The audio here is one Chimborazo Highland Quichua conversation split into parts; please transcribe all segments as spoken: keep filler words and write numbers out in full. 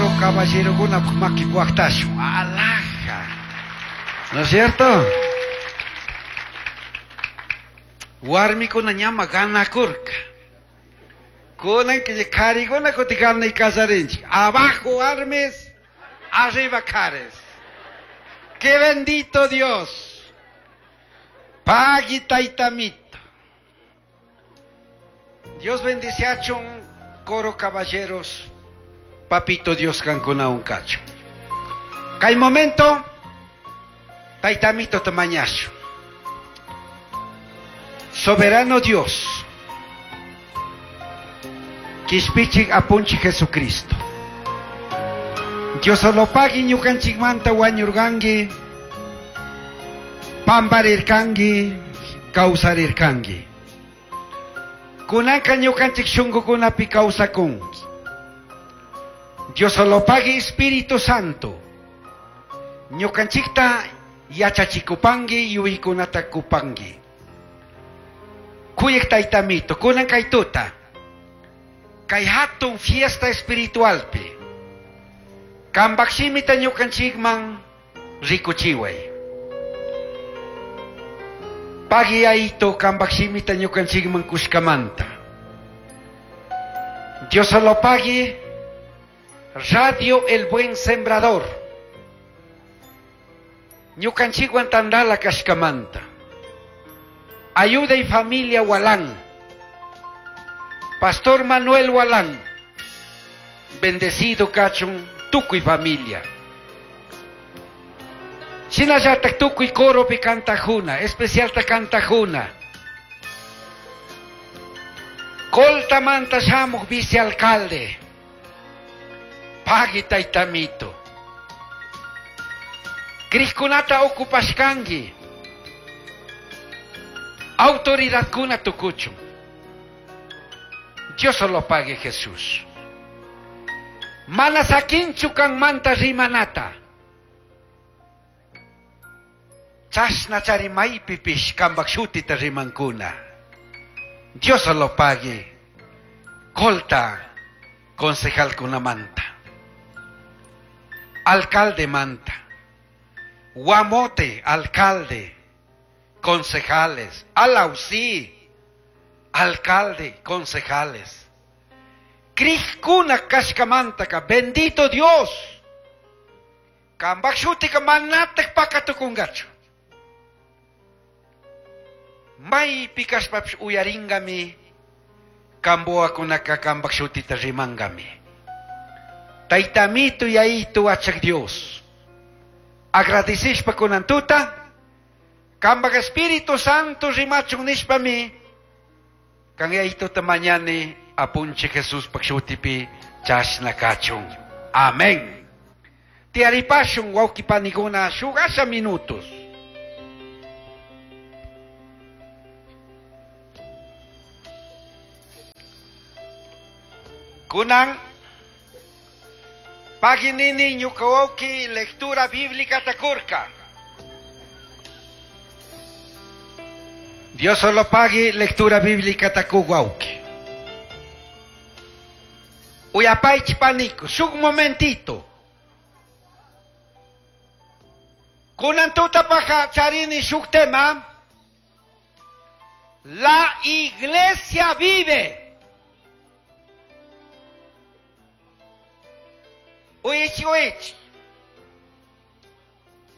Coro caballerokuna makipi waqtashun. Alaja. ¿No es cierto? Warmikuna ñama ganakurka. Kunan qharikuna kutin ganay qallarinchik. Abajo warmis, arriba qharis. ¡Qué bendito Dios! Pagui taytamito. Dios bendiciachun coro caballeros. Papito Dios qankunawan kachun. Kay momento, taytamito ta mañashun. Soberano Dios, Quishpichik apunchik Jesucristo. Dios solo pagui ñukanchikmanta wañurkanki, pamparirkanki, kawsarirkanki. Kunanka ñukanchik shunkukunapi kawsakunki. Dios solo pagui Espíritu Santo. Ñukanchikta yachachikupanki, yuyaykunata kupanki. Kuyaq taytamito, kunan kay tuta. Kay hatun fiesta espiritualpi. Kambak shimita ñukanchikman rikuchiway. Pagui ayito kambak shimita ñukanchikman kushkamanta. Dios solo pagui Radio El Buen Sembrador. Ñukanchikwan tandala kashkamanta. Ayuda y familia Walán. Pastor Manuel Walán. Bendecido kachun tukuy familia. Shinallatak tukuy coropi kantajuna, especialta kantajuna. Coltamanta shamuj vicealcalde. Pagui taytamito. Crijkunata ocupashkanki. Autoridad kuna tukuchun. Dios solo pague Jesús. Mana sakinchu kanmanta rimanata. Chashna chari maypipish kambak shutita rimankuna. Dios solo pague. Colta concejal kunamanta. Alcalde manta. Guamote, alcalde. Concejales. Alausí, alcalde, concejales. Crijkuna kashkamantaka, bendito Dios. Kambak shutika manatak pakatukungachu. Maypi kashpapish uyaringami, kambuakunaka kambak shutita rimangami. Taytamito yayito achak Dios. Agradecishpa kunan tuta, kambak Espíritu Santo rimachun nishpami, kan yayito ta mañani apunchik Jesús pak shutipi chashna kachun. Amén. Tiaripashun wawqi panikuna shuk asha minutos. Kunan paginini ñuka wawqi lectura bíblica takurka. Dios solo pague lectura bíblica taku wawqi. Uyapaychi paniku, shuk momentito. Kunan tutapaja charini shuk tema. La iglesia vive. Uichi uichi.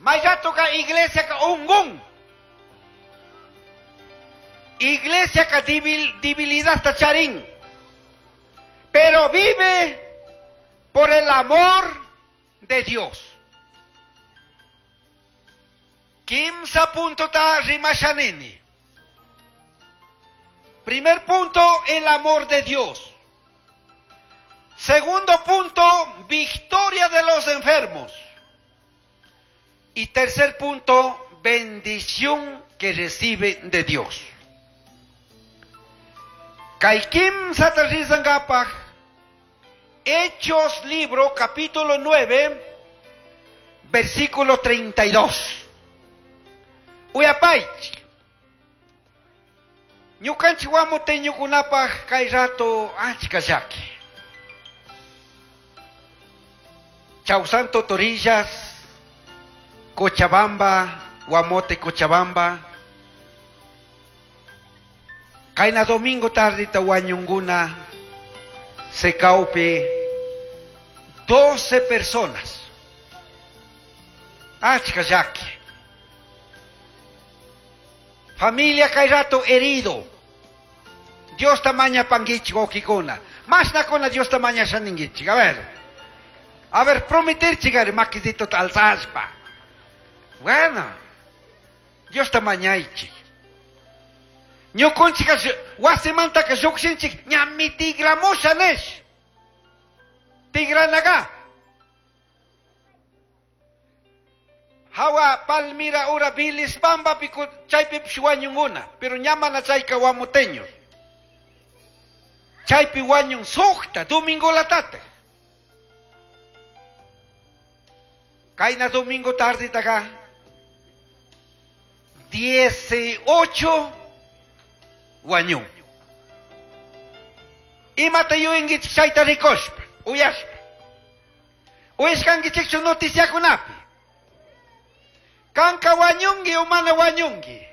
Mayatoka iglesia ka ungun. Iglesia ka debilidad tacharín. Pero vive por el amor de Dios. Kimsa punto ta rimashanini. Primer punto, el amor de Dios. Segundo punto, victoria de los enfermos. Y tercer punto, bendición que recibe de Dios. Kay kimsa ta rizangapaj, Hechos libro, capítulo nueve, versículo treinta y dos. Uyapaychik. Ñukanchik wamuteñukunapaj kay rato achka llaki. Chausanto Torillas, Cochabamba, Guamote, Cochabamba. Kaina domingo tarde tahuañunguna secaupe doce personas. Achka yaki. Familia Kairato herido. Dios tamaña panguichi okikuna. Más nakona Dios tamaña shaninguichi. A ver. A ver, prometer chigare maquisito alzaspa. Bueno. Dios tamañaichi. Ñukunchika wasimantaka llukshinchik ñami tigramusha nish. Tigranaga. Hawa Palmira ura Bilispamba piku chaypipish wañunguna, pero ñamana chayka wamuteños. Chaypi wañun suqta domingo latate. Kayna domingo tarde taga dieciocho wañun. Imata yuyinkichik chayta rikushpa, uyashpa. Uyashkankichikchu noticiakunapi. Kanka wañunki o mana wañunki.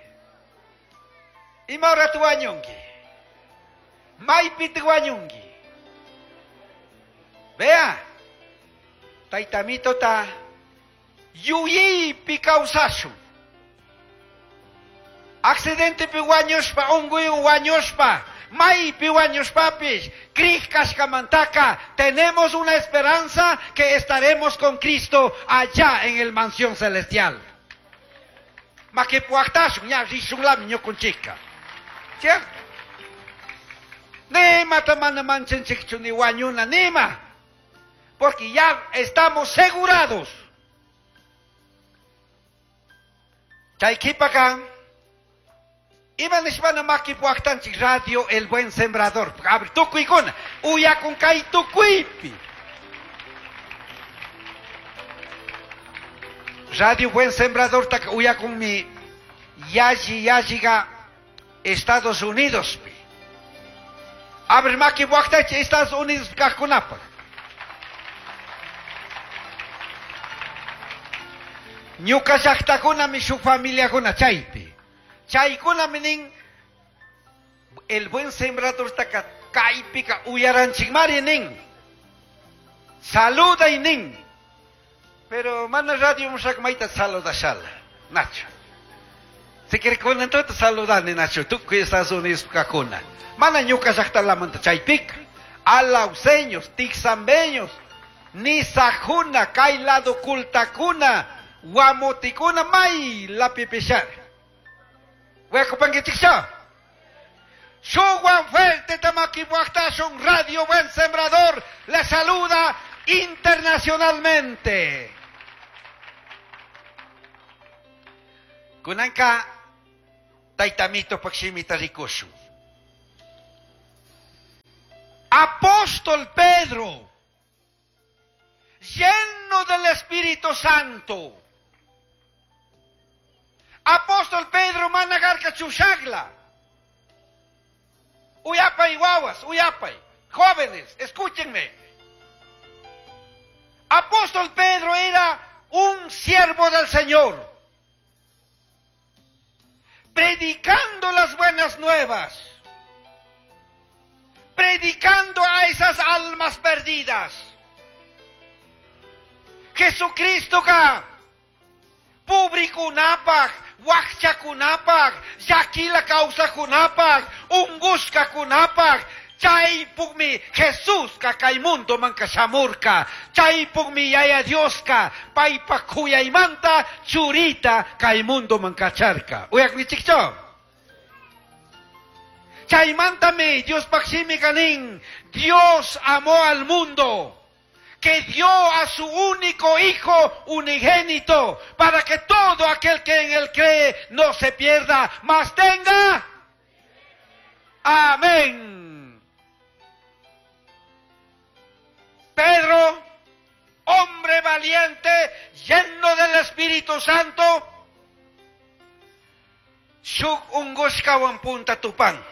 Ima rato wañunki. Maypita wañunki. Vea. Taytamito ta yuyaypi kawsashun. Accidente pi wañushpa, unquywan wañushpa, maypi wañushpapis, krij kashkamantaka, tenemos una esperanza que estaremos con Cristo allá en el mansión celestial. Makipuaqtashun, ña rishunlami ñukunchikka. ¿Cierto? Nima tamana manchanchikchu ni wañuna, nima. Porque ya estamos segurados. Chaykipaka, ima nishpana makipuaqtanchik radio El Buen Sembrador. Abre tukuykuna, uyakun kay tukuypi. Radio Buen Sembrador taka uyakunmi yalli yalliga Estados Unidos pi. Abre makipuaqtanchik Estados Unidos kaqkunapaq. Ñuka llaqtakunami shuk familiakuna chaypi. Chaykunami nin El Buen Sembrador taka kaypika uyaranchikmari nin. Saluday nin. Pero mana radio mushak mayta saludashala. Nacho. Si quiere con entonces saludani Nacho. Tukuy Estados Unidos kakuna. Mana ñuka llaqtalamanta chaypika. Alauseños, tixambeños, nisajuna, kay lado kultakuna, guamotikuna, may lapipishar. Huecopanguichiksha. Shuguan fuerte tamaquipuactashun Radio Buen Sembrador le saluda internacionalmente. Kunanka taytamito pakshimita rikushun. Apóstol Pedro, lleno del Espíritu Santo. Apóstol Pedro managarka chushagla. Uyapay guaguas, uyapay. Jóvenes, escúchenme. Apóstol Pedro era un siervo del Señor, predicando las buenas nuevas, predicando a esas almas perdidas. Jesucristo ka publikunapaj, wakchakunapaj, llakila kawsakunapaj, ungushkakunapaj. Chaypukmi Jesuska kay mundo manka shamurka. Chaypukmi Yaya Dioska paypa kuyaymanta churita kay mundo manka charka. Uyaknichikcho. Chaymantami Diospaq shimi kanin. Dios amó al mundo, que dio a su único hijo unigénito, para que todo aquel que en él cree no se pierda, mas tenga. Amén. Pedro, hombre valiente, lleno del Espíritu Santo, shuk ungushkawan punta tupan.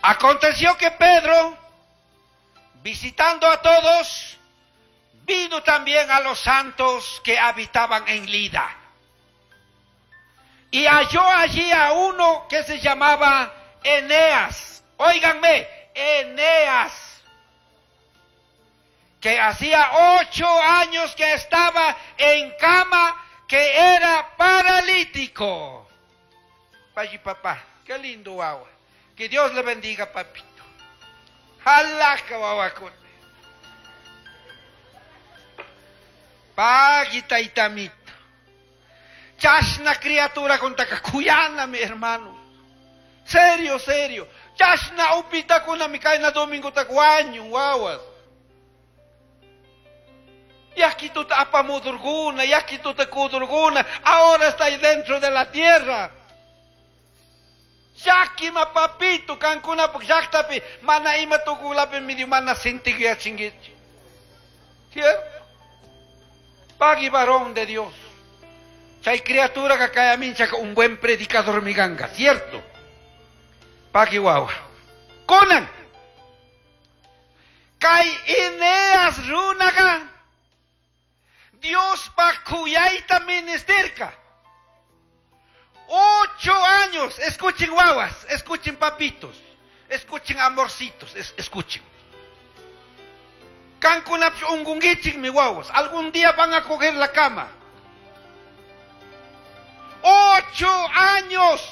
Aconteció que Pedro Visitando a todos, vino también a los santos que habitaban en Lida. Y halló allí a uno que se llamaba Eneas. Óiganme, Eneas, que hacía ocho años que estaba en cama, que era paralítico. Payi papá, qué lindo agua. Que Dios le bendiga, papito. Jalaca wawakuna. Pagui taitamito. Chashna criatura contaka kuyana, mi hermano. Serio, serio. Chashna upita kuna mi kaina domingo takuaño, wawas. Yakituta apamudurguna, yakituta kudurguna, ahora está ahí dentro de la tierra. Yakima papito, kankuna llaqtapi, mana ima tukulapi medio mana sintikyachinkichik. ¿Cierto? Pagui varón de Dios. Chay criatura que kaya minchaka un buen predicador miganga, ¿cierto? Pagui wawa. Kunan. Kay Eneas runaga. Dios pa kuyaita ministerka. Ocho años, escuchen guaguas, escuchen papitos, escuchen amorcitos, es, escuchen. Kankunapis ungunguichik mi guaguas, algún día van a coger la cama. Ocho años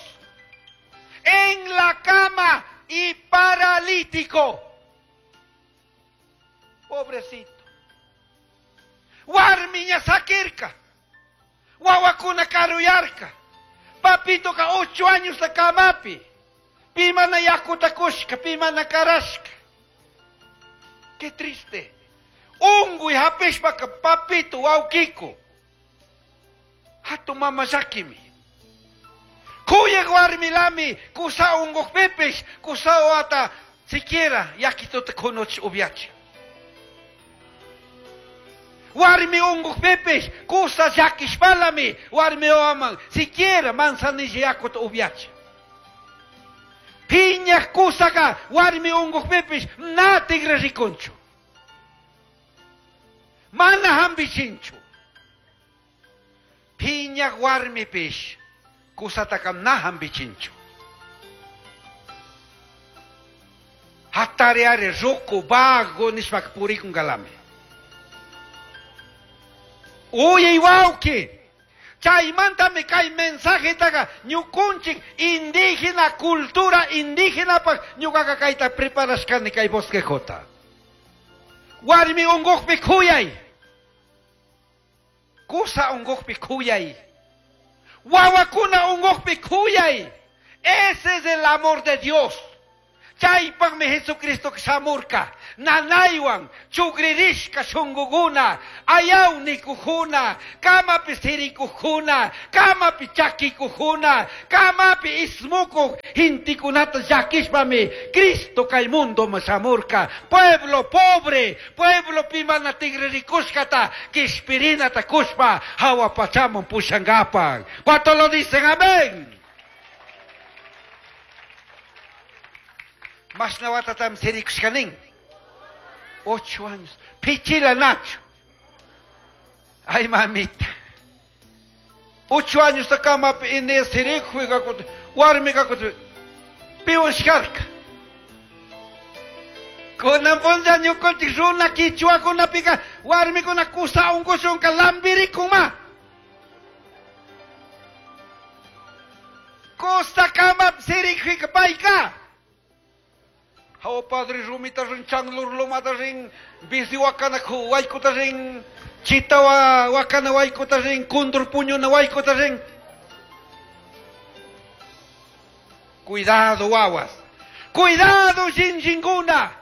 en la cama y paralítico. Pobrecito. Warmiña sakirka, wawakuna karuyarka. Papito ka ocho años la kamapi. Pimana yakuta kushka, pimana karashka. Qué triste. Ungu y hapishpa ka papito waukiko. Hatu mama yakimi. Kuya warmilami, kusa ungu pepesh, kusa wata siquiera yakituta kunoch ubiachi. Warmi ungu pepesh, kusa yakishpalami, warmi oaman, siquiera manzanilla yakuta ubiachi. Piña kusaka, warmi ungu pepesh, na tigre riconcho. Mana hambichincho. Piña warmi pish, kusatakam na hambichincho. Hatareare roku vago nishpak purikun galame. Uy, wauki, chaymantami kay mensaje taga ñukunchik indígena, cultura indígena pa ñukaqa kayta preparashkani kay bosquejota. Warmi unquqpi khuyay, kusa unquqpi khuyay, wawakuna unquqpi khuyay. Ese es el amor de Dios. Chaypaqmi Jesucristo shamurka, nanaywan chugririshka shunguguna, ayawnikujuna, kamapi sirikujuna, kamapi chakikujuna, kamapi ismukuq hintikunata llakishpami Cristo kay mundoman shamurka. Pueblo pobre, pueblo pimana tigririkushkata, kishpirinata kushpa, hawa pachaman pushangapan. ¿Cuánto lo dicen? Amén. Mashna watatam sirikushkanin. Ocho años. Pichila Nacho. Ay, mamita. Ocho años kamapi Inés sirikuy warmi kakut. Piwan sharka. Kunan punlla ñukanchik runa kichwakunapika warmikuna kusa unkushunka lambirikuma. Kusa kamapi sirikuyka payka. Oh padre rumita rin changlur lumata rin bisi wakana waykota rin chita wakana waykota rin kundur puñuna waykota rin. Cuidado wawas, cuidado jinjinguna,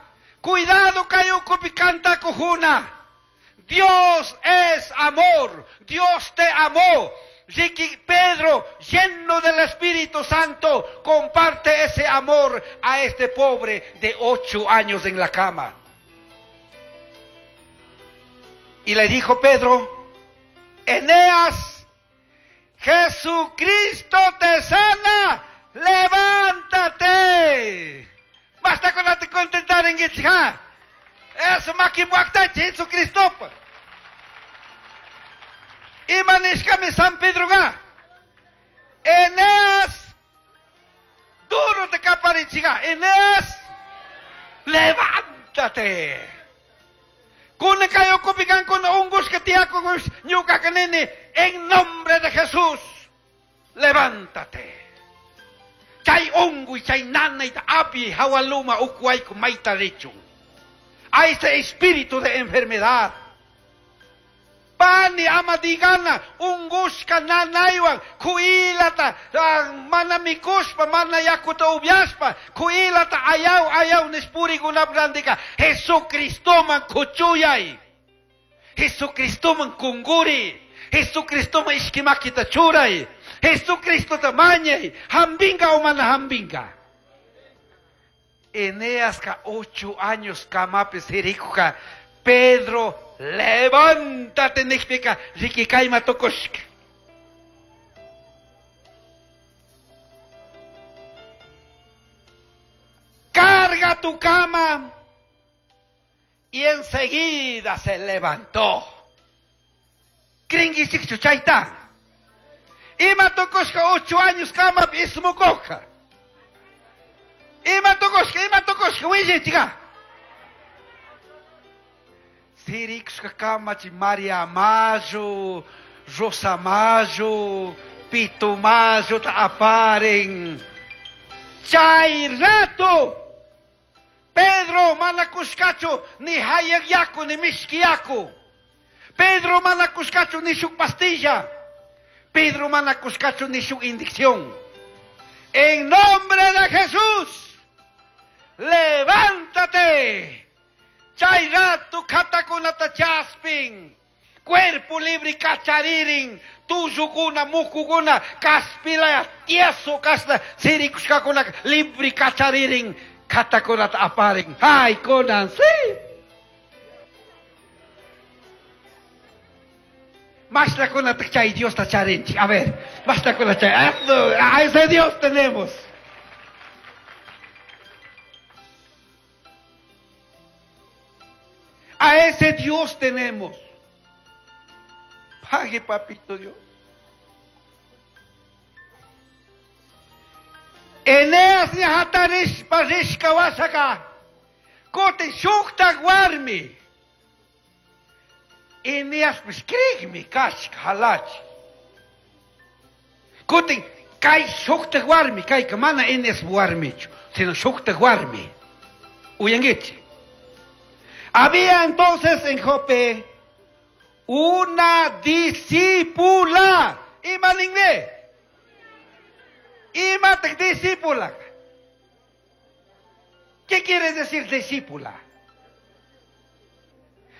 cuidado kayukupi kantakujuna. Dios es amor, Dios te amó. Ricky Pedro, lleno del Espíritu Santo, comparte ese amor a este pobre de ocho años en la cama. Y le dijo Pedro, Eneas, Jesucristo te sana, levántate. Basta con la contentar en Gitzha. Eso makibuaktachi Jesucristopa. Ima nishkami San Pedroga. Eneas, duro te kaparichiga. Eneas, levántate. Kuna kayo kupikan kuna ungus ketiako ñuka kanini en nombre de Jesús. Levántate. Chay ungu chay nanay ta api hawaluma ukuayku maita richun. A ese espíritu de enfermedad. Pani ama digana ungushka nanaywan kuilata mana mikushpa mana yakuta ubyashpa kuilata ayaw ayaw nishpurikunap randika Jesucristoman kuchuyay, Jesucristoman kunguri, Jesucristoman ishkimakita churay, Jesucristota mañay, hambinga o mana hambinga. Eneasca ocho años kamapi sirikuka Pedro, levántate nikpika rikikayma tukushka. Carga tu cama. Y enseguida se levantó. Kringichikchu chayta. Ima tukushka ocho años kama ismukoka. Ima tukushka, ima tukushka, willichiga. Sirikushka kamachi María Mayo, Rosa Mayo, Pito Mayo ta aparen. Chay rato. Pedro mana kushkachu ni hayak yaku ni mishki yaku. Pedro mana kushkachu ni shuk pastilla. Pedro mana kushkachu ni shuk indicción. En nombre de Jesús, levántate. Chay rato katakunata chaspin. Cuerpo libre kacharirin. Tuyukuna, mukukuna, kaspilaya, tieso kasna, sirikushkakuna, libre kacharirin. Katakunata aparin. Ay, kunan, sí. Basta con la chay Dios ta charinchi. A ver, basta con la chay. A ese Dios tenemos. A ese Dios tenemos. Pague, papito Dios. Eneas ñahatarishpa rishka wasaka. Kutin shuktak warmi. Eneas krigmi kashka halachi. Kutin kay shuktak warmi kayka mana Eneas warmichu, sino shuktak warmi. Uyangichi. Había entonces en Jope una discípula. Ima ningne. Ima discípula. ¿Qué quiere decir discípula?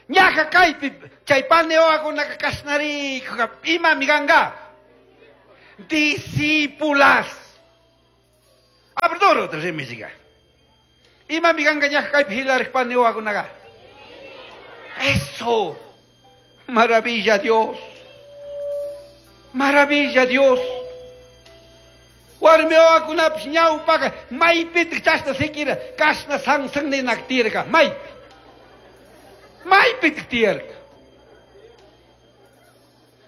Ñaja kaypi chay paneoakunaka kashnarikuka ima miganga. Discípulas. Abrdoro rimisiga. Ima miganga ñaja kaypi hilarik paneoakunaka. Eso. Maravilla Dios. Maravilla Dios. Warmiwakunapish ñawpaka maypitik chashna sikira kashna sansan ninak tiyarka maypi. Maypitik tiyarka.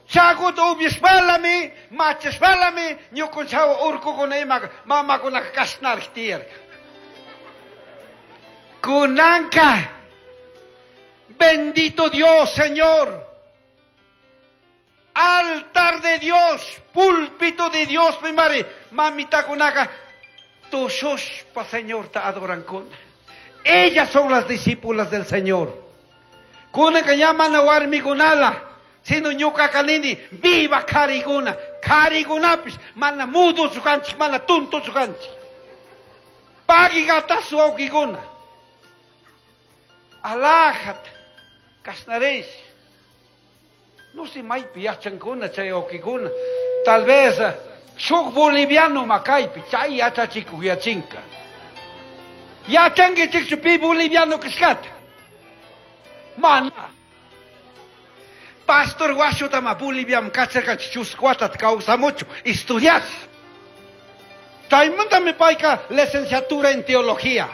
Chakuta upyashpalami, machashpalami, ñukunchawa urkukuna imaka mamakunaka kashnarik tiyarka. Kunanka, bendito Dios, Señor. Altar de Dios, púlpito de Dios, mi madre, mamita kunaka, tushushpa Señor ta adoran kuna. Ellas son las discípulas del Señor. Kunaka llaman a warmi kunala, sino ñuka kanini, viva kariguna, karigunapis, mana mudo sukanchik, mana tunto sukanchik. Pagi gatasu aukiguna. Alajat, kasnaresh. No sé, maypi yachankuna chay wawqikuna. Tal vez shuk boliviano makaypi chay yachachikuq yachinka. Yachankichikchu pi boliviano kashkata. Mana. Pastor Washutama Boliviam kacharkanchik chusku watata kawsamuchu estudiar. Chaymantami payka licenciatura en teología.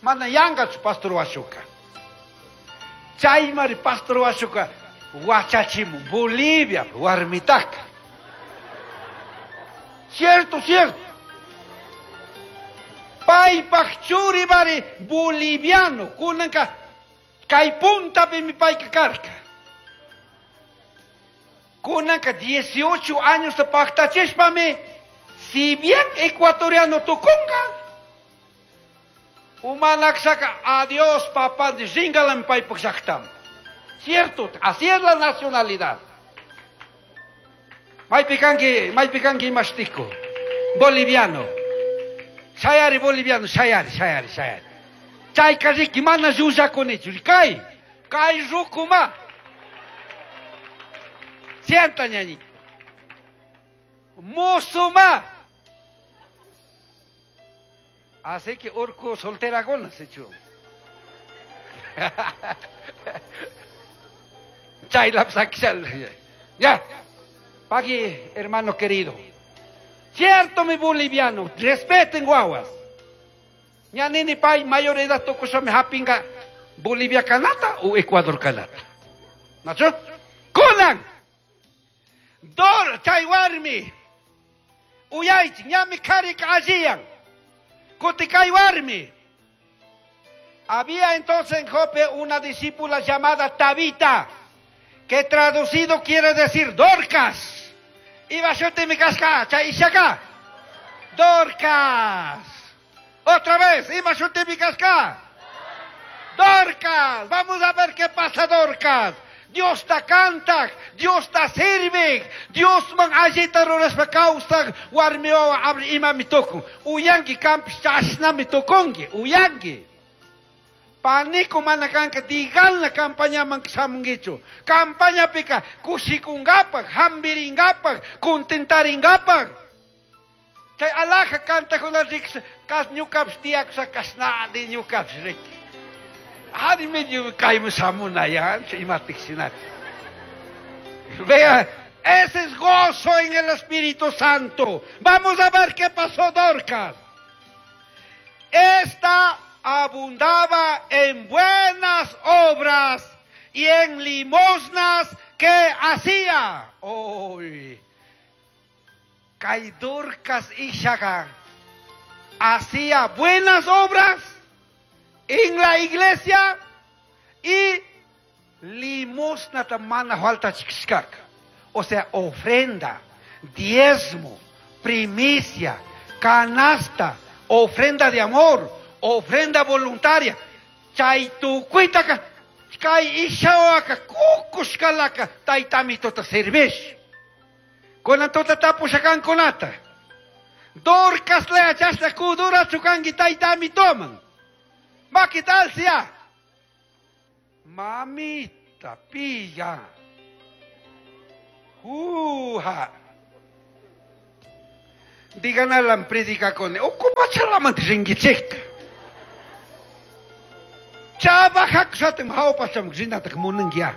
Mana yanqachu Pastor Washuka. Chaymari pastor washuka wachachimu Bolivia warmitaka. Cierto, cierto. Paypaj churibari boliviano kunanka kay puntapimi payka karka. Kunanka dieciocho años paqtachishpami, si bien ecuatoriano tukunka, umanaksaka adiós papá de ringalam paypaj llaqtaman. Cierto, así es la nacionalidad. Maypi kanki, maypi kanki imashtico, boliviano. Shayari boliviano, shayari, shayari, shayari. Chayka riki mana llullakunichu, kay, kay rukuma. Sienta ñañito. Musuma. Así que urku soltera gona se echó. Chay la Ya. Paqui, hermano querido. Cierto, mi boliviano, respeten guaguas. Ñanini pay mayor edad tokusame hapinga Bolivia kanata o Ecuador kanata. ¿Nacho? Kunan. Dor chay warmi. Uyaychi ñami karika alliyan. Kutikay warmi. Había entonces en Jope una discípula llamada Tabita, que traducido quiere decir Dorcas. Iba a mi casca, chay ishaka. Dorcas. Otra vez, iba a mi casca. Dorcas. Vamos a ver qué pasa, Dorcas. Dios ta canta, Dios ta sirve, Dios man allita rurashpa kawsak, warmi wawa abri imami tukun. Uyanki kampis chashnami tukunki, uyanki. Panico mana kanka diganla campañaman shamunkichu. Campañapika kushikunkapaj, hambirinkapak, contentarinkapak. Chay alaja kantakuna riks, kas ñukapish tiyakusha kashnadi ñukapish riki. Ari medio kayman shamunaya, imatik shinati. Vea, ese es gozo en el Espíritu Santo. Vamos a ver qué pasó, Dorcas. Esta abundaba en buenas obras y en limosnas que hacía. Uy, kay Dorcas ishaga hacía buenas obras en la iglesia y limosna mana falta chikshkaka. O sea, ofrenda, diezmo, primicia, canasta, ofrenda de amor, ofrenda voluntaria. Chay tukuitaka, kay ishawaka, kukushkalaka, taytamitota servish. Kunantota tapushakankunata. Dorcas lea chashna kudura chukanki taytamitoman. Maquitalsia. Mamita, pilla. Uja. Digan a la predica con ocupa chalamante ringichekta. Chava haksatem haupacham rinatak munangia.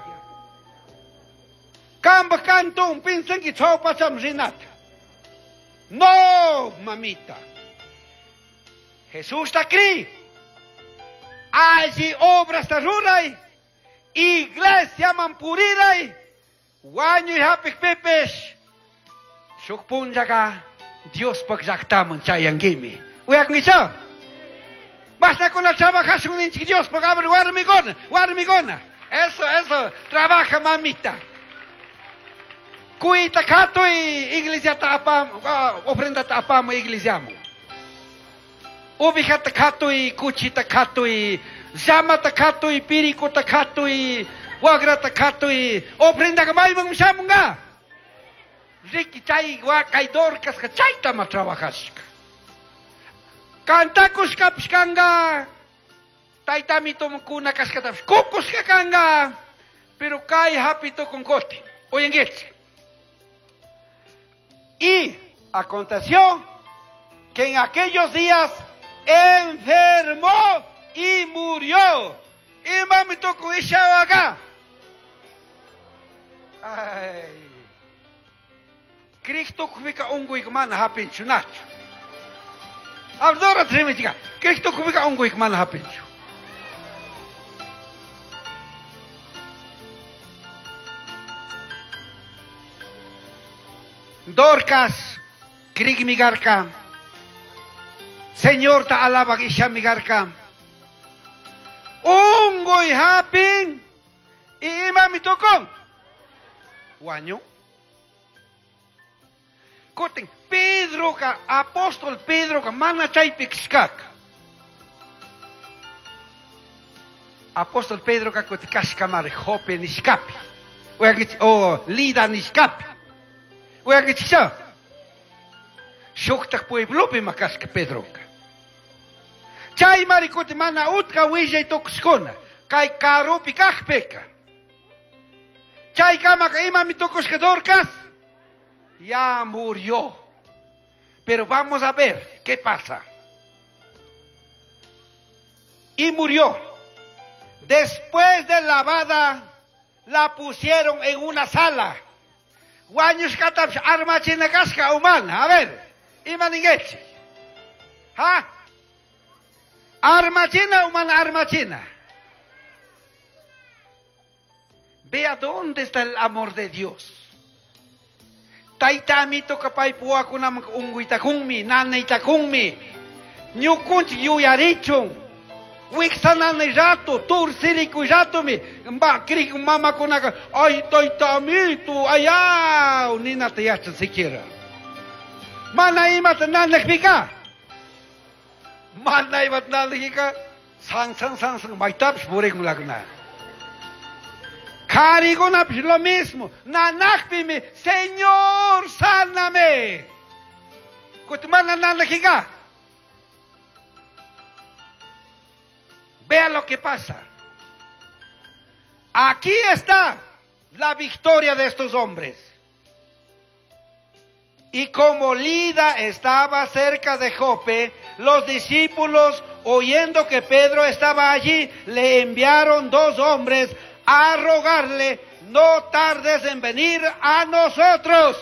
Kamba kantum pinsanki chaupacham rinata. No, mamita. Jesús ta cri. Allí obras ta ruray. Iglesia mampuriray. Wañuy hapik pipis. Shuk punllaka Dios pak llaqtaman chayanguimi. Uyaknicha. Basta con la trabajación ninchik Dios pak abre warmigona, warmigona. Eso, eso, trabaja mamita. Cuita katuy iglesia ta apam, ofrenda ta apamu iglesiamu. Ubijata katuy, kuchita katuy, llamata katuy, pirikuta katuy, wagrata katuy, ofrenda ka mayman shamunga. Riki chay kay Dorcas ka chayta ma trabajashka. Kantakushkapish kanga, taytamito kuna kashkatapish kukushka kanga, pero kay hapito con koti. Oyengueche. Y aconteció que en aquellos días enfermó y murió. Y mami tocó acá. Ay. Cristo kufika unguik mana hapinchu nachu. Abdora trimichiga. Cristo kufika unguik mana hapinchu. Dorcas crigmi garca. Señorta alabak ishami garca. Unguy hapin y imami tukun. Wañu. Kutin Pedro ka apóstol Pedro ka mana chaypi kashkaka. Apóstol Pedro ka kuti kashkamari Jope nishkapi. O Lida nishkapi. Uyakichikcha. Shuktak pueblopi makashka Pedro ka. Chay mari kuti mana utka willay tukushkuna. Kay karupi kajpika. Chay kamaka imami tukushka Dorcas. Ya murió. Pero vamos a ver qué pasa. Y murió. Después de lavada, la pusieron en una sala. Wañushkatapish armachina kashka humana. A ver, ima ninguichik. ¿Ha? Armachina, humana, armachina. Vea dónde está el amor de Dios. Tayta amito kapay puwakunaman unquytakunmi, nanaytakunmi. Ñukunchik yuyarichun. Wiksananay rato, tursirikuy ratomi. Mba, krik mamakunaka, ay tayta amito, ayaw, ninata yachan siquiera. Mana imata nanakpika. Mana imata nanakpika, san san san san maytapish purikunlakuna. Karikunapish lo mismo. Nanakpimi, Señor, sáname. Kuti mana nanakika. Vea lo que pasa. Aquí está la victoria de estos hombres. Y como Lida estaba cerca de Jope, los discípulos, oyendo que Pedro estaba allí, le enviaron dos hombres a rogarle, no tardes en venir a nosotros.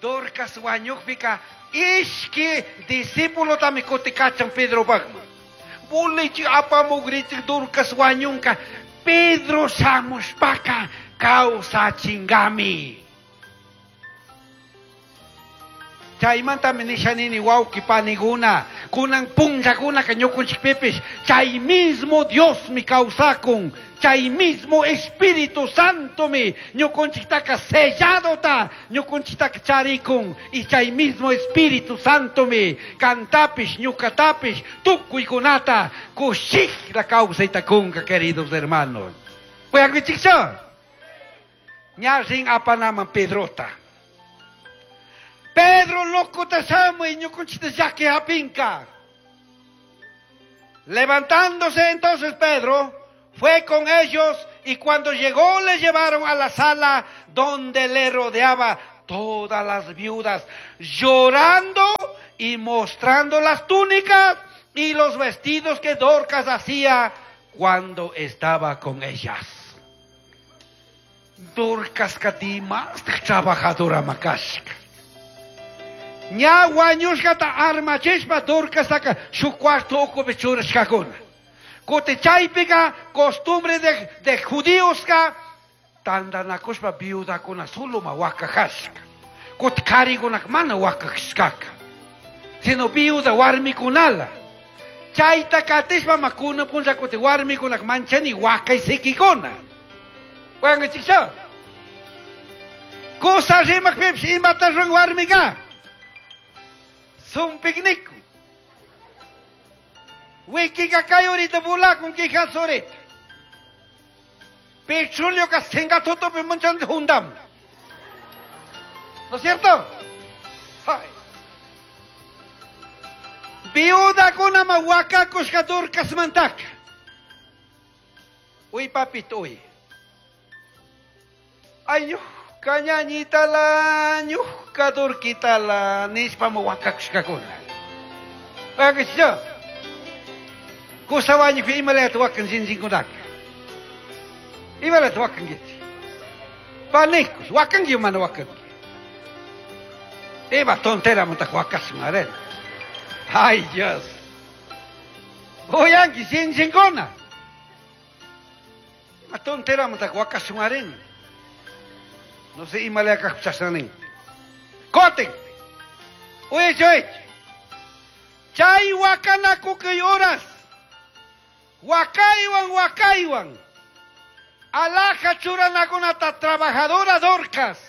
Dorcas wañukpika ishki discípulo tami kutikachan Pedro bagma. Bulichik apamugrichik Dorcas wañunka Pedro shamushpaka kawsachingami. Chaymantami nishanini wawqi paniguna, kunan punllakunaka ñukunchikpipish, chay mismo Diosmi kawsakun, chay mismo Espíritu Santomi ñukunchiktaka selladota ñukunchiktaka charikun, y chay mismo Espíritu Santomi kantapish ñukatapish tukuykunata kushikla kawsaytakunka, queridos hermanos. Uyankichikchu? Ña rin apanaman Pedrota. Pedro loco te shamuy ñukunchita llaki hapinka. Levantándose entonces Pedro fue con ellos, y cuando llegó le llevaron a la sala donde le rodeaba todas las viudas, llorando y mostrando las túnicas y los vestidos que Dorcas hacía cuando estaba con ellas. Dorcas katima trabajadora makashka. Ña wañushkata armachishpa Dorcastaka shuk cuarto ukupi churashkakuna. Kuti chaypika costumbre de, de judíoska tantanakushpa viudakuna soloma wakajashka. Kuti karikunaka mana wakajashkaka. Sino viuda warmikunala. Chayta katishpa makuna punlla kuti warmikunaka manchani wakaysikikuna. Wankichikcha. Kusa rimakpipish imata ruran warmika. Sumpikniku. Wikika kay ahorita bulakun quijas ahorita. Petróleo ka singatutopi manchan hundam. ¿No es cierto? Ay. Viuda kunama wakakushka Dorcas mantaka. Uy, papito, uy. Ay, ñuka ñuka Dorquitala, nishpa wakakushkakuna. Wakakushka. Kusawañupi imalata wakan sinsinkunaka. Imalata wakankichik. Panikus, wakanki mana wakanki. Ima tontera muntak wakasun, a ver. Ay, Dios. Uyanki sinsinkuna. Ima tontera muntak wakasun, arena. No sé imalaya kajpi. Kotin. Uyaychik. Chay wakanakukuy horas. Wakaywan wakaywan. Alhaja churanakunata trabajadora Dorcas.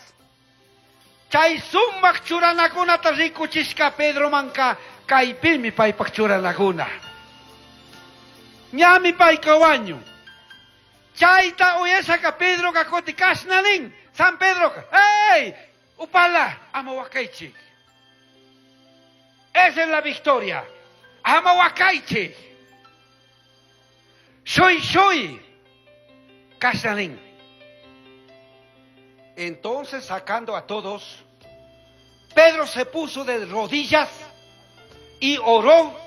Chay sumak churanakunata rikuchishka Pedro manka kaypimi paypak churanakuna. Ñami payka wañun. Chayta uyashaka Pedro kuti kashna nin. San Pedro, ¡hey! Upala, ama wakaychik. Esa es la victoria. Ama wakaychik. Shui shui. Kashna nin. Entonces, sacando a todos, Pedro se puso de rodillas y oró,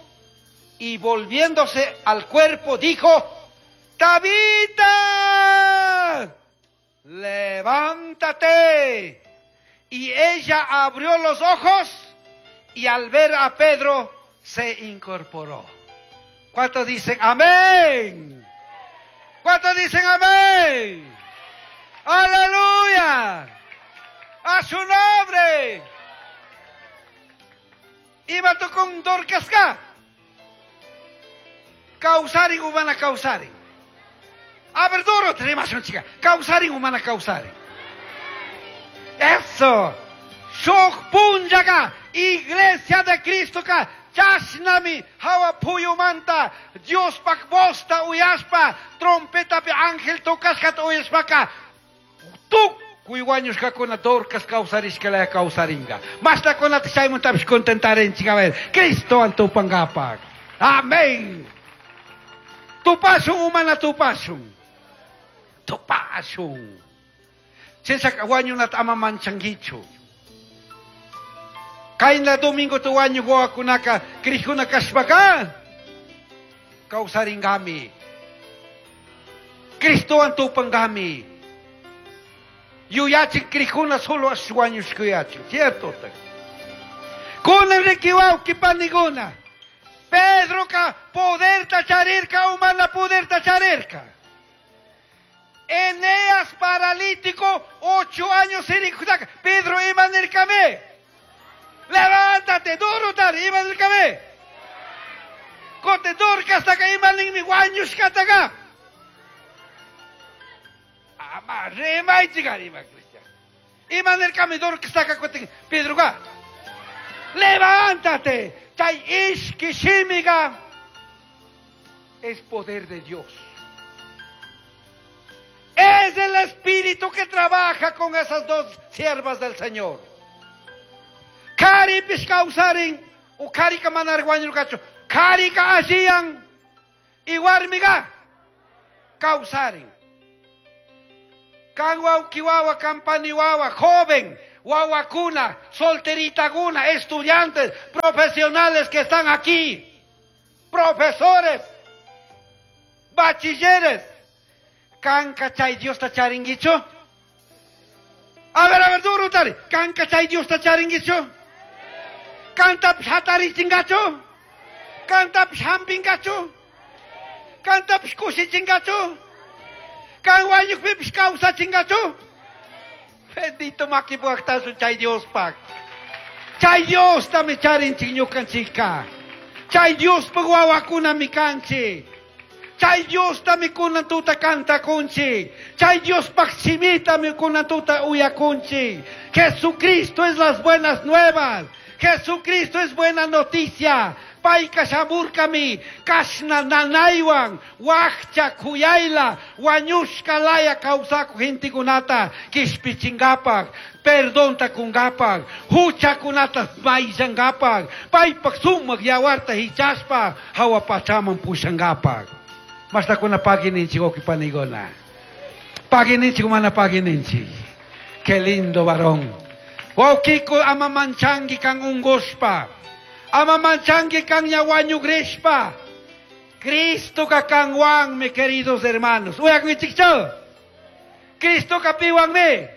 y volviéndose al cuerpo dijo: Tabita, levántate. Y ella abrió los ojos y al ver a Pedro se incorporó. ¿Cuántos dicen amén? ¿Cuántos dicen amén? ¡Aleluya! ¡A su nombre! Ima tukun Dorcasca. Kawsarin o mana kawsarin. A ver, duro, chica. Kawsarin o mana kawsarin. Eso. Shuk punllaka, Iglesia de Cristo ka, chashnami, hawa puyumanta, Diospak vozta uyashpa, trompetapi ángel tocashkata uyashpaka, tukuy wañushkakuna Dorcas kawsarishkalaya kawsaringa. Mashtakunata chaymantapish contentarinchik, a ver, Cristowan tupangapak. Amén. Tupashun o mana tupashun. Tupashun. Chinshaka wañunata ama manchankichu. Kayna domingo tu wañu wawakunaka crijkuna kashpaka kawsaringami. Cristowan tupangami. Yuyachin crijkuna solo wañushkuyachin, cierto? Kunan riki wawki panikuna. Pedroka poderta charirka o mana poderta charirka. Eneas paralítico, ocho años sirikutaka. Pedro ima nirkami. Levántate, duro tar, ima nirkami. Kote Dorcastaka ima ninmi wañushkataka. Ama rimaychik ima cristiano. Ima nirkami Dorcastaka kutin Pedroka. Levántate. Chay ishki shimiga es poder de Dios. Es el Espíritu que trabaja con esas dos siervas del Señor. Karipish kawsarin, o karika manar wañurkachu, karika alliyan, y warmiga kawsarin. Kan wawki wawa, kan pani wawa, joven, wawakuna, solteritaguna, estudiantes, profesionales que están aquí, profesores, bachilleres. Kanka chay Diosta charinkichu? A ver, a ver, duro tari. Kanka chay Diosta charinkichu? Kantapish hatarichinkachu? Kantapish hampinkachu? Kantapish kushichinkachu? Kan wañukpipish kawsachinkachu? Bendito makipuaktasun chay Diospak. Chay Diostami charinchik ñukanchikka. Chay Diospak wawakunami kanchik. Chay Diostami kunan tuta kantakunchik. Chay Diospak shimitami kunan tuta uyakunchik. Jesucristo es las buenas nuevas. Jesucristo es buena noticia. Payka shamurkami, kashna nanaywan, wakcha kuyayla, wañushka laya kawsaku gentekunata, kishpichingapak, perdonta kungapak, huchakunata mayllangapak, paypak sumak yawarta hichashpa, hawa pachaman pushangapak. Mashtakuna pagininchik wawqi panikuna. Pagininchik mana pagininchik. Qué lindo varón. Wawqiku ama manchanki kan ungushpa. Ama manchanki kan ña wañugrishpa. Cristo ka kanwanmi, queridos hermanos. Uyakunchikchu. Cristo ka piwanmi.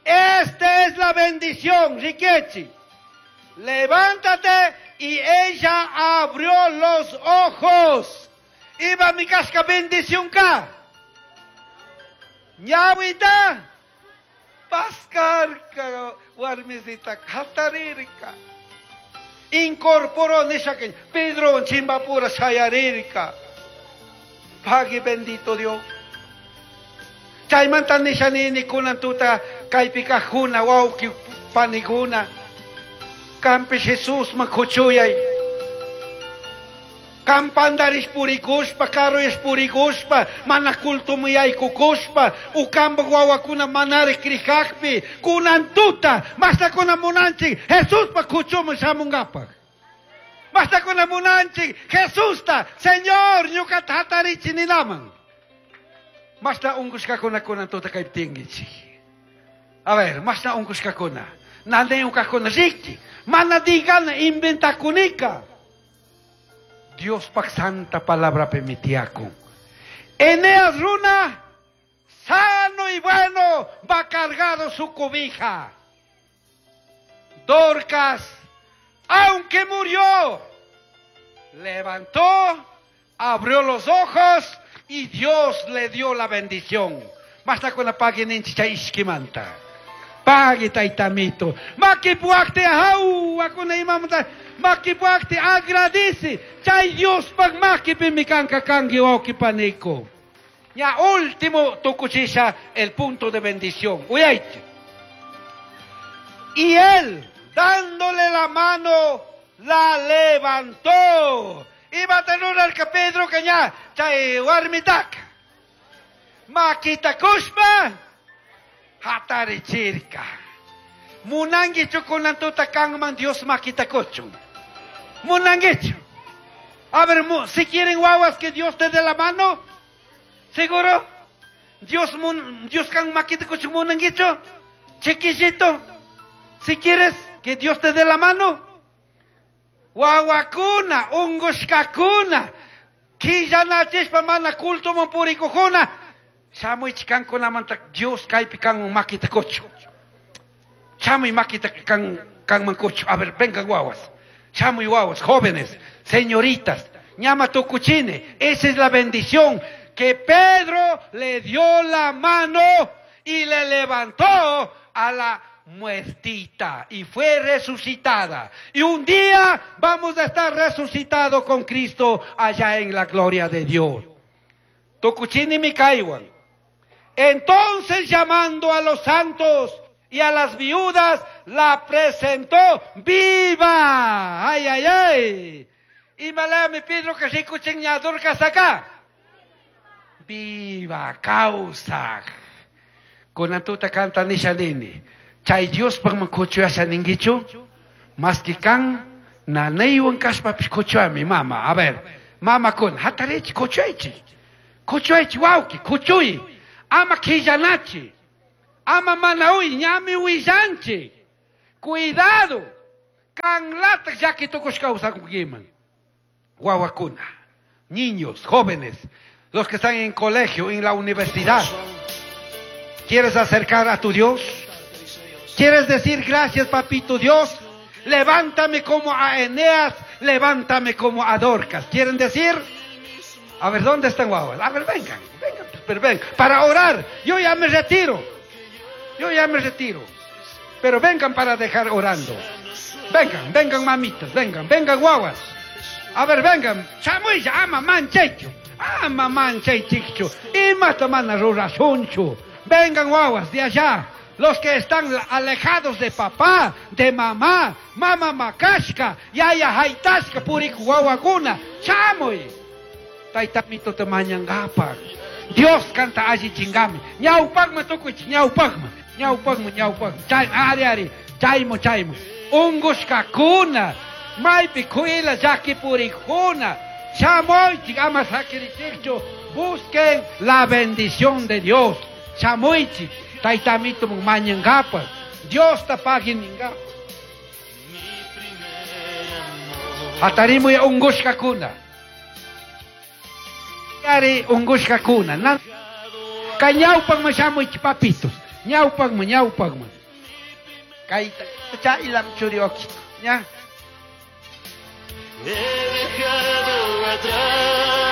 Esta es la bendición, Riquechi. Levántate, y ella abrió los ojos. Iba mi casca bendición ka. Ñawita Pascarka warmisita hatarirka. Incorporó nishakin Pedro chimbapura shayarirka. Pagui bendito Dios. Chaymanta nishanini kunan tuta kaypikajuna wawqi panikuna. Kampi Jesus makuchuyay. Kampandarish purikushpa, karuysh purikushpa, mana kultumuyaykukushpa, ukamba wawakuna manari krikakpi, kunan tuta, mastakuna munanchik, Jesuspa kuchumun shamungapak. Mastakuna munanchik, Jesusta, Señor, ñuqata hatarichi ninaman. Mashna unkushkakuna kunan tuta kayptinkichik. A ver, mashna unkushkakuna. Nanayunkakuna riki, mana digana inventakunika. Dios pak santa palabra permitiaco. Eneas runa, sano y bueno, va cargado su cobija. Dorcas, aunque murió, levantó, abrió los ojos y Dios le dio la bendición. Basta con la paguen en ishkimanta. Pague taitamito. Makipuakte hau, akuna imamta. Makipuakte agradece. Chay Dios pag makipimikanka kangi oki paniko. Ya último tukuchisha el punto de bendición. Uyaiche. Y él, dándole la mano, la levantó. Iba a tener el Pedro que ya, chay warmitak. Makita kushma. Hatarichirka. Munangichu kunantuta kanman Dios makita kuchun. Munangichu. A ver, si quieren guaguas que Dios te dé la mano, ¿seguro? Dios, mun, Dios kan makita kuchun munangichu. Chiquillito, si quieres que Dios te dé la mano, guaguacuna, ungushkakuna, killanachispa mana culto monpurikujuna, shamuy chikankunamanta Dios kaypi kanman makita kuchu. Shamuy makita kan kanman kuchu. A ver, vengan guaguas. Shamuy guaguas, jóvenes, señoritas, ñama tukuchine. Esa es la bendición que Pedro le dio la mano y le levantó a la muertita y fue resucitada. Y un día vamos a estar resucitados con Cristo allá en la gloria de Dios. Tukuchini mikaywan. Entonces, llamando a los santos y a las viudas, la presentó viva. ¡Ay, ay, ay! Y malami Pedro que rikuchin Dorcas acá. Viva causa. Con tuta canta nishanini. Chay Dios pag kuchuyasha ningichu. Mas que kan nanaywan kashpapis kuchuyami mama. A ver, mama kun hatarichi kuchuyaichi. Kuchuyaichi wawki, kuchuy. Ama killanachi. Ama manaui, ñami huillanchi. Cuidado. Kan latak llaki tukushka usakunkiman. Guaguacuna. Niños, jóvenes, los que están en colegio, en la universidad. ¿Quieres acercar a tu Dios? ¿Quieres decir gracias, papito Dios? Levántame como a Eneas, levántame como a Dorcas. ¿Quieren decir? A ver, ¿dónde están guaguas? A ver, vengan, vengan, pero vengan. Para orar, yo ya me retiro. Yo ya me retiro. Pero vengan para dejar orando. Vengan, vengan mamitas, vengan, vengan guaguas. A ver, vengan. Chamuilla, ama manchecho. Ama manchechicho. Y matamana rurasunchu. Vengan guaguas de allá. Los que están alejados de papá, de mamá, mama makashka, yaya haitashka, puriku guaguacuna. Chamuy. Taitamito te mañangapa. Dios canta allí chingame. Ñaupagma tukuch, ñaupagma. Ñaupagma, ñaupagma. Chay, ari, ari. Chaymo, chaymo. Ungushkakuna. Maypi kuila llaki purikuna. Chamoychik, ama sakirichikchu. Busquen la bendición de Dios. Chamoychik. Taitamito mañangapa. Dios ta paginingapa. Hatarimuy ungushkakuna. Ari ungushkakuna. Na kay ñawpaqman shamuy papitos. Ñawpaqman, ñawpaqman. Kay chaylam churioki. Ña.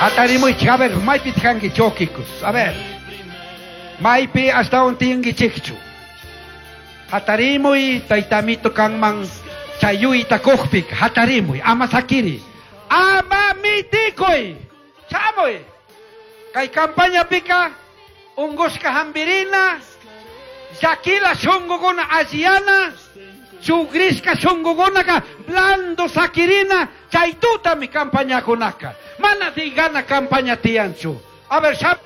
Hatarimuy, a ver, maypi tkanki chokikus. A ver. Maypi hasta un tingui chikchu. Hatarimuy taytamito kanman chayuyta kuqpik hatarimuy ama sakiri. Ama mitikuy. Shamuy. Kay campaña pika ungushka hambirina, llakila shungukuna alliyana, chugrishka shungukunaka blando sakirina, chay tutami campañakunaka. Mana digana campaña tiyanchu. A ver, sham,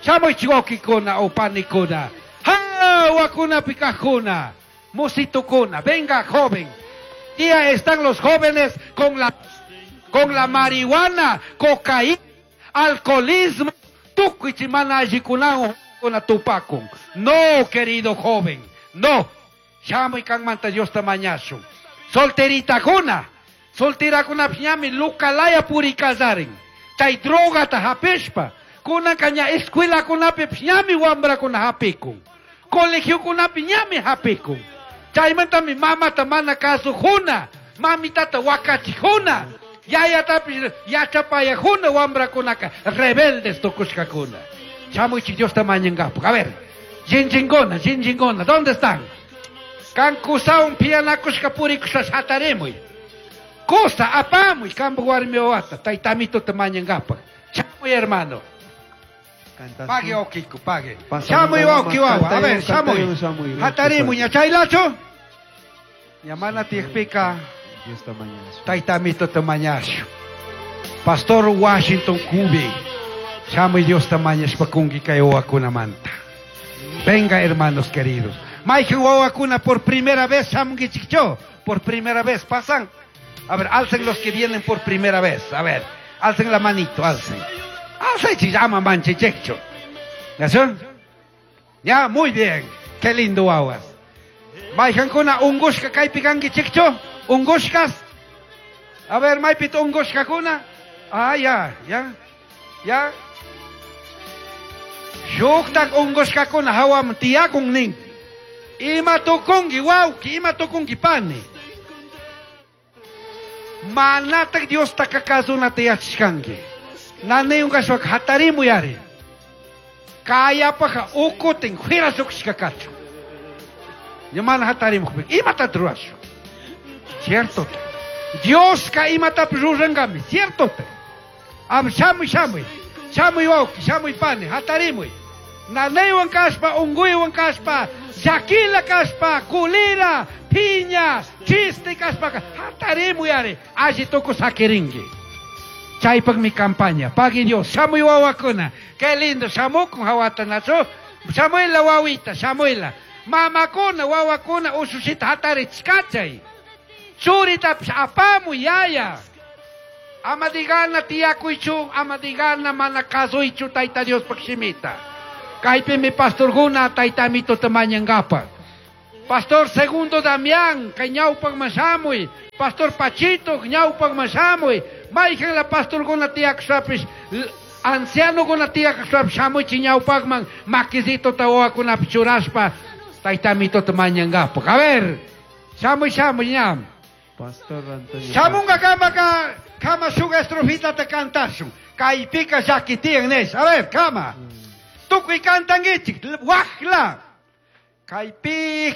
shamuy chiwakikuna o panikuna. Hawakuna pikajuna, musitukuna. Venga, joven. Día están los jóvenes con la, con la marihuana, cocaína, alcoholismo, tukuy mana allikunawan kuna tupakun. No, querido joven, no. Shamuy kanmanta Diosta mañashun. Solteritakuna, solterakuna ñami lukalaya purikallarin. Chay drogata hapishpa. Kunanka ña escuelakunapi ñami wambrakuna hapikun. Colegiokunapi ñami hapikun. Chaymantami mamata mana kasujuna, mamitata wakachijuna, yayatapish yachapayajuna wambrakunaka rebeldes tukushkakuna. Shamuy Diosta mañankapak. A ver, jinjingona, jinjingona, ¿dónde están? Kan kusawan pianakushka purikushpa hatarimuy. Kusa apamuy kampak warmi wawata, taytamituta mañankapak. Shamuy hermano. Pague okiku, pague. Shamuy wawki wawa, a ver, shamuy. Hatarimuy, ña chaylachu? Ña mana tiyakpika taytamituta mañashu. Pastor Washington Cubi. Shamuy Diosta mañashpa kunki kay wawakunamanta. Venga, hermanos queridos. Mayqin wawakuna por primera vez shamunkichikchu. Por primera vez pasan. A ver, alcen los que vienen por primera vez. A ver, alcen la manito, alcen. Alcen si llama manchichekchu. ¿Ya? Ya, muy bien. Qué lindo wawas. Mayqankuna ungushka kaypi kankichikchu. Ungushkas. A ver, maypita ungushkakuna. Ah, ya, ya. Ya. Shuktak ungushkakuna hawaman tiyakun nin. Ima tukunki wawki, ima tukunki pani. Manatak Diostaka kasunata yachashkanki. Nanaywan kashpaka hatarimuy ari. Kayapaka ukutin juira lluqshishka kachun. Ña mana hatarimukpika imatata rurashun. Cierto. Dioska imatapish rurankami, cierto. Am shamuy shamuy. Shamuy wawki, shamuy pani, hatarimuy. Nanaywan kashpa, unguywan kashpa, llakila kashpa, kulira, piña, chiste kashpaka, hatarimuy ari, alli tukuy sakirinki. Chaypakmi campaña, pagui Dios, shamuy wawakuna. Qué lindo, shamukun hawata nachu, shamuyla wawita, shamuyla. Mamakuna, wawakuna, usushita hatarichkachay. Churitapish apamuy yaya. Ama digana tiyakuychu, ama digana mana kasuychu Tayta Diospak shimita. Kaypimi pastorkuna taytamituta mañankapak. Pastor Segundo Damián, kay ñawpakman shamuy. Pastor Pachito, ñawpakman shamuy. Mayqanla pastorkuna tiyakushpapish, ancianokuna tiyakushpapish shamuychik ñawpakman makisituta wawakunapi churashpa taytamituta mañankapak. A ver, shamuy shamuy ñam. Pastor Antonio. Shamunga kamaka kama shuk estrofitata kantashun. Kaypika llaki tiyan nish. A ver, kama. Tukuy kantankichik, waqla. Kaypi